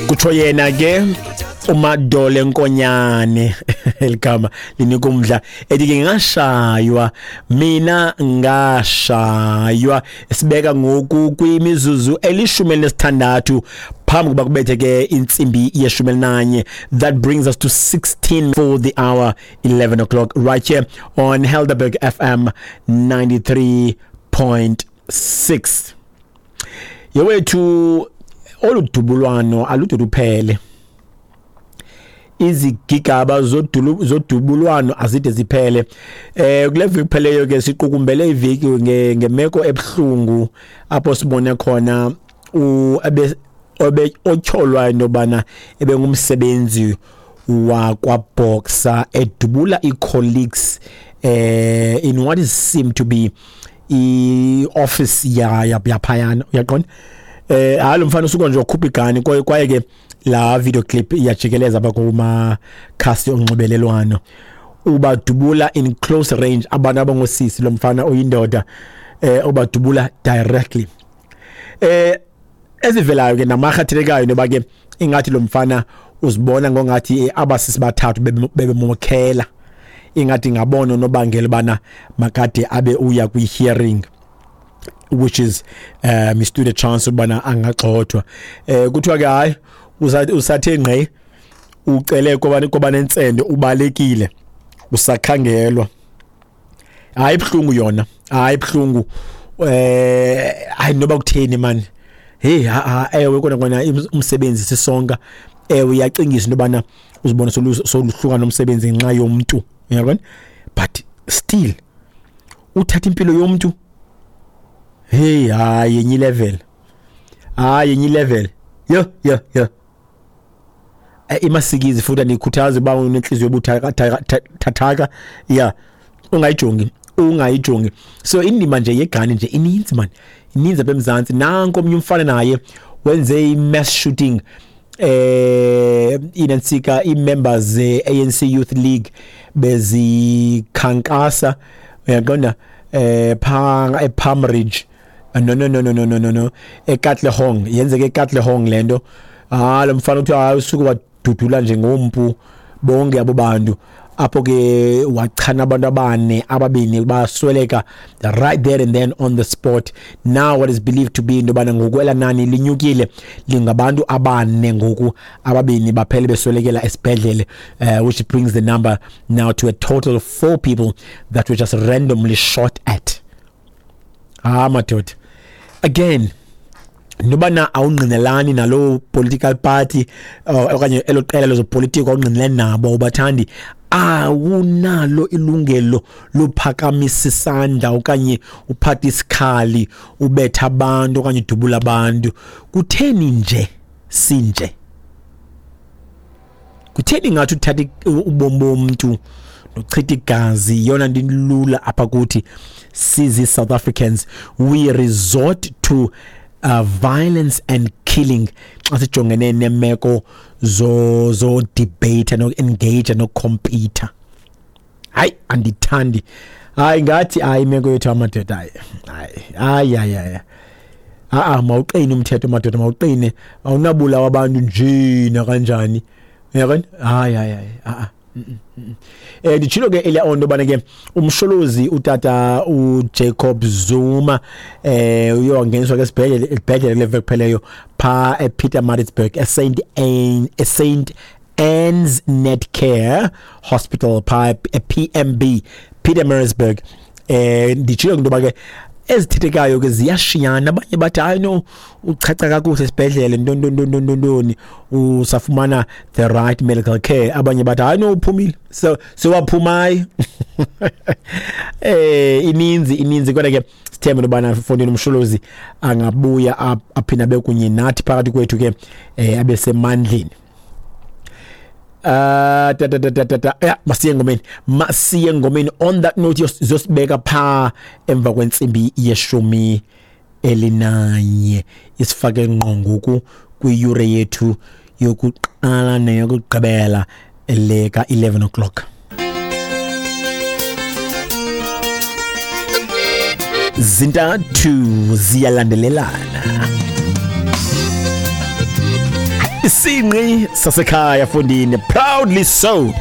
Kutsho yena ke uMadole Nkonyane, eligama linika umdla, ethi ke ngashaywa mina, ngashaywa. Sibeka ngoku kwimizuzu 16 phambi kuba kubethe ke intsimbi ye-11. That brings us to 16 for the hour, 11 o'clock, right here on Helderberg FM 93.6. Yewethu, olu dubulwano alude luphele, izigigaba zodubulwano azide ziphele. Kule veki kupheleyo ke siqukumbele iveki ngemeko ebuhlungu apho sibone khona obe otyholwa into yobana ebengumsebenzi wakwaBoxer edubula ii-colleagues in what is seem to be i-office ya yaphayana, uyaqonda. Hayi, lo mfana usuka nje wakhupha igani, kwaye ke la video clip iyajikeleza apha kumakhasi onxibelelwano, ubadubula in close range abantu abangosisi. Lo mfana oyindoda ubadubula directly. Ezivelayo ke namarhathelekayo noba ke ingathi lo mfana uzibona ngongathi abasisi bathathu bebemokhela, ingathi ngabona unobangela bana makade abe uya kwi-hearing, which is stood a chance ubana angagxothwa. Kuthiwa ke hayi, usathe ngqe, ucele koba nentsende, ubalekile, usakhangelwa. Hayi, ibhlungu yona, hayi, ibhlungu. Hayi, noba kutheni man, hey, ha, ewe kona kona umsebenzi sisonka, ewe iyacingisa into yobana uzibona soluhluka nomsebenzi ngenxa yomntu, uyabona, but still uthatha impilo yomntu, hey, hayi, yenye level, hayi, yenye level, yo yo yo. Imasikizi futhi andikhuthazi uba unenhliziyo ebuthathaka, ya, ungayijongi, ungayijongi. So indima nje yegani nje ininzi man, ininzi apha eMzantsi. Nanko omnye umfana naye wenze i-mass shooting, inantsika ii-members ze-ANC Youth League bezikhankasa, uyaqonda, pha ePalm Ridge. No, no, no, no, no, no, no, no, eKatlehong, yenzeke eKatlehong lento. Ah, lo mfana uthi hayi, usuke wadudula nje ngompu bonke abo bantu apho ke, wachana abantu abane, ababini basweleka right there and then on the spot. Now what is believed to be into yobana ngokwela nani linyukile, lingabantu abane ngoku, ababini baphele beswelekela esibhedlele, which brings the number now to a total of four people that were just randomly shot at. Ah, madoda, again, nobana awungqinelani nalo political party okanye elo qela lezopolitiko, awungqinelani nabo, ubathandi, awunalo ilungelo lophakamisa isandla okanye uphathe isikhali ubetha abantu okanye udubula abantu. Kutheni nje sinje? Kutheni ngathi uthatha ubomi bomntu nochitha igazi yiyona nto ilula apha kuthi sizi South Africans? We resort to violence and killing xa sijongene nemeko zo debate no engage no compete. Hayi, andithandi, hayi, ngathi hayi, imeko yethu amadoda, hayi, hayi, hayi, hayi, a mawuqine umthetho madoda, mawuqine, awunabulawa abantu nje nakanjani, uyabona. Hayi, hayi, hayi, a nditshilo ke earlier on bana ke uMsholozi, utata uJacob Zuma, uye wangeniswa ke esibhedlele kule veki kupheleyo pha ePietermaritzburg eSaint Anne's Netcare Hospital pha ePMB, Pietermaritzburg. Nditshilo into yoba ke ezithethekayo ke ziyashiyana. Abanye bathi hayi no, uchacha kakuhle esibhedlele, ntoni ntoni ntoni ntoni ntoni, usafumana the right medical care. Abanye bathi hayi no, uphumile, so sewaphumayo. Ininzi, ininzi, kodwa ke sithembe ubana fondini uMsholozi angabuya aphinda abe kunye nathi phakathi kwethu ke, abe semandleni. Ta ta ta ta ta ta, ya, masiye ngomeni, masiye ngomeni. On that note, zosibeka pha emva kwentsimbi ye-11, isifake ngqo ngoku kwiyure yethu yokuqala neyokugqibela le ka-11 o'clock. Zintathu ziyalandelelana. Isinqi sasekhaya, fondini, proudly so.